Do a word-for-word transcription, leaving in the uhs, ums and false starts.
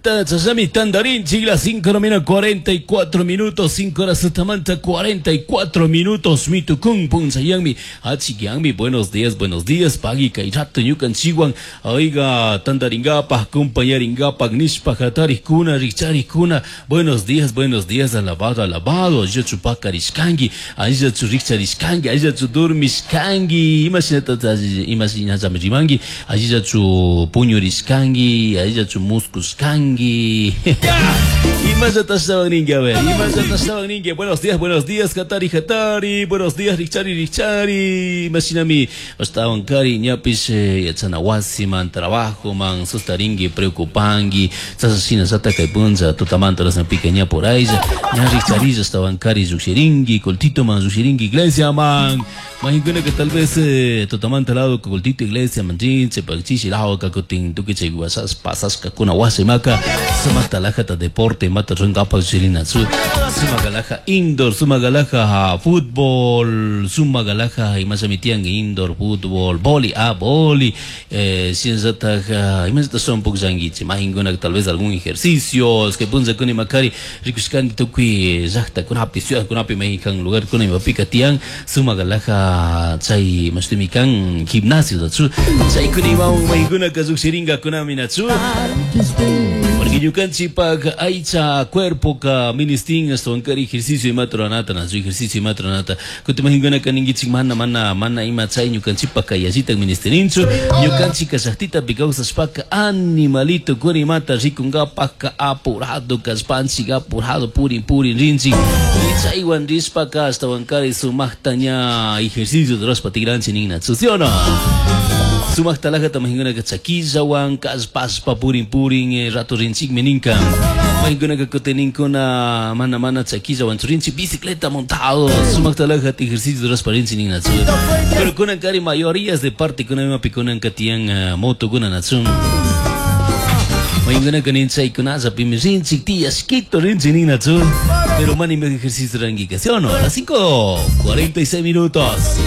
Chashnami tandarinchik las cinco de la mañana cuarenta y cuatro minutos, cinco horas tutamanta cuarenta y cuatro minutos, mitukun punchayanmi, achikyanmi. Buenos días, buenos días, pagui kay rato ñukanchikwan, oiga, tandaringapaj, acompañaringapaj nishpa hatarikuna, rikcharikuna, buenos días, buenos días, alabado, alabado, allillachu pakarishkanki, allillachu rikcharishkanki, allillachu dormishkanki, imashinata, imashinallami rimanki, allillachu puñurishkanki, allillachu muskushkanki, imallata ashtawan ninki, a ver, imallata ashtawan ninki. Buenos días, buenos días, hatari, hatari, buenos días, rikchari, rikchari, imashinami ashtawan kari, ñapish yachana wasiman, trabajo man, sustarinki, preocupanki, chashna shina kay puncha tutamanta rasnapika ña por ahí, ña rikcharilla ashtawan kari llukshirinki, cultito man llukshirinki, iglesia man, mahinkuna que tal vez eh, tutamanta lado cultito iglesia man rinche, pagchishi lado kakutin tukuy chay wasas pasashkakuna wasimaka, sumakta lajata deporte mata runkapa llukshirinatsu, sumak alaja indoor, sumak alaja fútbol, sumak alaja imashami tiyan indoor, fútbol, boli, ah, boli, eh, shinallatak imallata son pukllankichik, mahinkuna tal vez algún ejercicio, que punchakuna imakari rikushkani tukuy llaktakunapi, ciudadkunapi, mexican lugarkuna imapika tiyan sumak alaja chay mashtimi kan gimnasio natsu, chaykuna imawan mahinkunaka llukshirinkakunami natsu, porque ñukanchikpak aycha cuerpo ka ministin ashtawan kari ejercicio imata ruranata natsu, ejercicio imata ruranata. Kutin mahinkunaka ninkichik mana mana mana ima chay ñukanchikpak yallitak ministirinchu, ñukanchik llaktitapi kawsashpaka animalito kuna imata rikunkapaka apurado kashpanchik, apurado purin purin rinchik, chaywan rishpaka ashtawan kari sumakta ña ejercicio rurashpa tikranchik ninatsu, ¿sí o no? Sumakta alajata mahinkunaka chakillawan kallpashpa purin purin eh, rato rinchikmi ninka. Mahinkunaka kutininkuna mana mana chakillawan rinchik, bicicleta montado, sumakta alajata ejercicio rurashpa rinchik ninatsu. Pero kunan kari mayorías de parte kuna imapi kunanka tiyan uh, moto kuna natsu. Mahinkunaka nin chaykunallapimi rinchik tiyashkito rinchik ninatsu. Pero mana ima ejercicio rangika, ¿sí o no? A las cinco cuarenta y seis minutos.